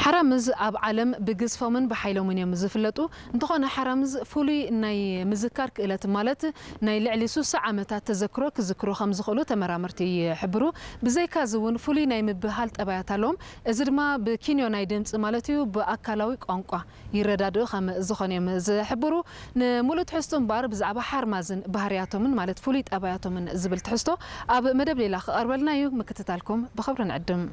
ሓራምዝ ኣብ ዓለም ብግዝፎምን ብሓይሎምን እዮም ዝፍለጡ። እንተኾነ ሓራምዝ ፍሉይ ናይ ምዝካር ክእለት፣ ማለት ናይ ልዕሊ ስሳ ዓመታት ተዘክሮ ክዝክሩ ከም ዝኽእሉ ተመራመርቲ ይሕብሩ። ብዘይካዚ እውን ፍሉይ ናይ ምብህሃል ጠባያት ኣለዎም። እዚ ድማ ብኪንዮ ናይ ድምፂ ማለት እዩ ብኣካላዊ ቋንቋ ይረዳድኡ ከም ዝኾኑ እዮም ዝሕብሩ። ንምሉእ ትሕዝቶ እምበኣር ብዛዕባ ሓርማዝን ባህርያቶምን ማለት ፍሉይ ጠባያቶምን ዝብል ትሕዝቶ ኣብ መደብ ሌላ ክቐርበልና እዩ። ምክትታልኩም ብኽብሪ ንዕድም።